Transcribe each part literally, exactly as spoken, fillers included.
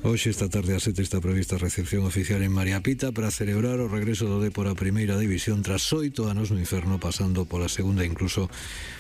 Hoxe esta tarde a sete está prevista a recepción oficial en María Pita para celebrar o regreso do Dépor á Primeira División tras oito anos no inferno, pasando pola segunda e incluso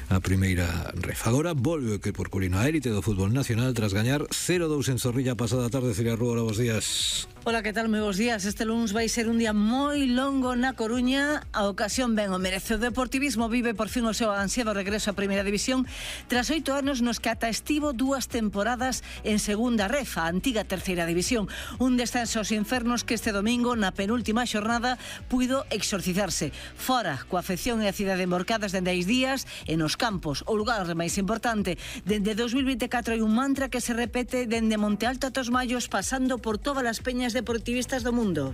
a Primeira Ref. Agora volve o equipo porculino a élite do fútbol nacional tras gañar cero dous en Zorrilla pasada tarde. Celia Rúa, hola, bos días. Hola, que tal? Moi bos días. Este lunes vai ser un día moi longo na Coruña. A ocasión ben o merece. O Deportivismo vive por fin o seu ansiado regreso á Primeira División tras oito anos nos que ata estivo dúas temporadas en Segunda Ref, a antiga Terceira División. Un descenso aos infernos que este domingo, na penúltima xornada, puido exorcizarse. Fora, coa afección e a cidade emborcadas dende hai días, e nos campos, o lugar máis importante, dende dos mil vinte e catro hai un mantra que se repete dende Monte Alto ata os Mallos, pasando por todas as peñas deportivistas do mundo.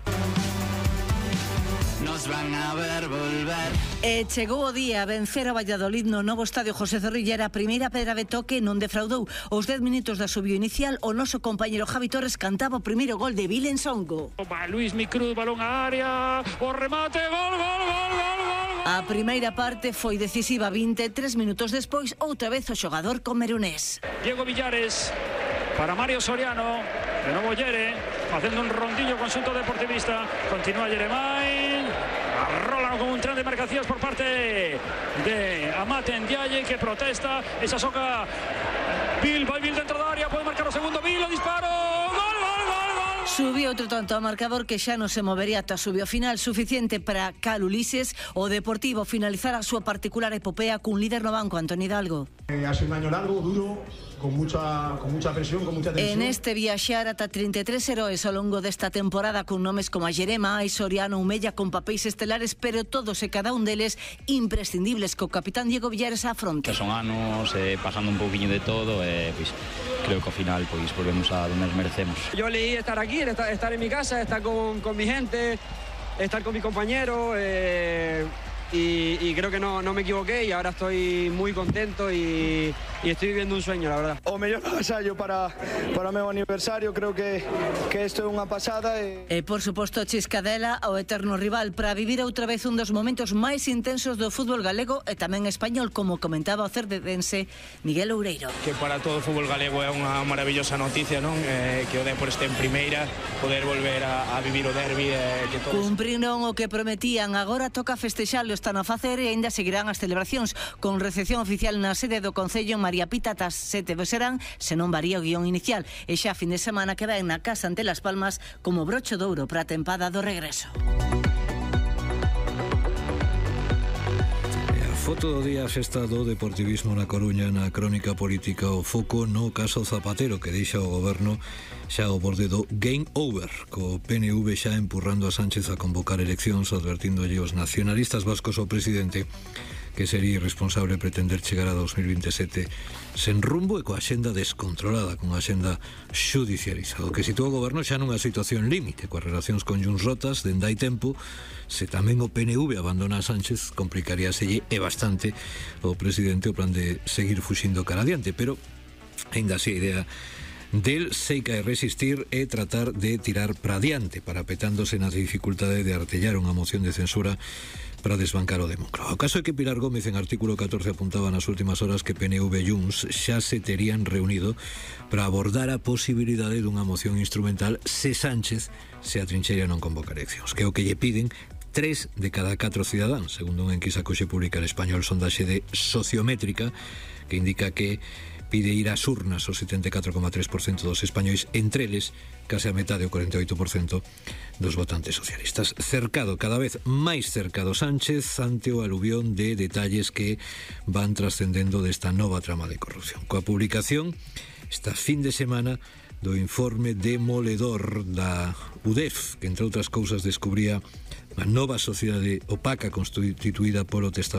Nos van a ver volver. E chegou o día a vencer a Valladolid no novo estadio José Zorrilla. Era a primeira pedra de toque, non defraudou. Os dez minutos da subio inicial, o noso compañero Javi Torres cantaba o primeiro gol de Vilen Songo. Va Luis Micruz, balón á área, o remate, gol, gol, gol, gol, gol. A primeira parte foi decisiva. vinte e tres minutos despois, outra vez o xogador comerunés. Diego Villares para Mario Soriano, de novo Yere, facendo un rondillo conxunto deportivista. Continúa Yeremai, arrola con un tren de marcacións por parte de Amate Ndiaye, que protesta, esa soca Bill, vai Bill dentro da área, pode marcar o segundo Bill, o disparo, gol, gol, gol, gol. Subiu outro tanto a marcador que xa non se movería ata subió final, suficiente para Cal Ulises o Deportivo finalizar a súa particular epopea cun líder no banco, Antoni Hidalgo. Eh, ha sido un año largo, duro, con mucha, con mucha presión, con mucha tensión. En este viaxar ata trinta e tres heróis ao longo desta temporada, con nomes como a Yerema, Soriano, Umella, con papéis estelares, pero todos e cada un deles imprescindibles, co capitán Diego Villares á fronte. Son anos, eh, pasando un pouquiño de todo, e eh, pues, creo que ao final pues, volvemos a donde nos merecemos. Yo leí estar aquí, estar, estar en mi casa, estar con, con mi gente, estar con mis compañeros, eh, y, y creo que no, no me equivoqué, y ahora estoy muy contento y, y estoy viviendo un sueño, la verdad. O mellor agasallo para, para o meu aniversario, creo que, que isto é unha pasada. E... e por suposto Chiscadela, o eterno rival, para vivir outra vez un dos momentos máis intensos do fútbol galego e tamén español, como comentaba o cerdedense Miguel Oureiro. Que para todo o fútbol galego é unha maravillosa noticia, non? Eh, que o Dépor este en primeira, poder volver a, a vivir o derbi, eh, que todos... Cumpriron o que prometían, agora toca festexalo, están a facer e ainda seguirán as celebracións con recepción oficial na sede do Concello en María Pita ata sete serán, se non varía o guión inicial, e xa fin de semana que ven na casa ante Las Palmas como broche de ouro para a tempada do regreso. Foto do día, festa do deportivismo na Coruña. Na crónica política, o foco no caso Zapatero, que deixa o goberno xa ao borde do game over, co P N V xa empurrando a Sánchez a convocar eleccións, advertíndolle os nacionalistas vascos ao presidente que sería irresponsable pretender chegar a dos mil veintesete sen rumbo e coa xenda descontrolada, con a xenda xudicializada, o que sitúa o goberno xa nunha situación límite, coas relacións con Junts rotas dende hai tempo. Se tamén o P N V abandona a Sánchez, complicaríaselle e bastante o presidente o plan de seguir fuxindo cara adiante, pero ainda así a idea del seica é resistir e tratar de tirar para adiante, parapetándose na dificultade de artellar unha moción de censura para desbancar o Demócrata. O caso é que Pilar Gómez en artículo catorce apuntaba nas últimas horas que P N V e Junts xa se terían reunido para abordar a posibilidade dunha moción instrumental se Sánchez se atrincheira non convocar eleccións, que é o que lle piden tres de cada catro cidadáns, segundo unha enquisa que hoxe publica el Español, sondaxe de Sociométrica, que indica que pide ir ás urnas o setenta e catro coma tres por cento dos españois, entre eles case a metade, o cuarenta e oito por cento dos votantes socialistas. Cercado, cada vez máis cercado Sánchez ante o aluvión de detalles que van trascendendo desta nova trama de corrupción. Coa publicación esta fin de semana do informe demoledor da U D E F, que entre outras cousas descubría unha nova sociedade opaca constituída polo testaferro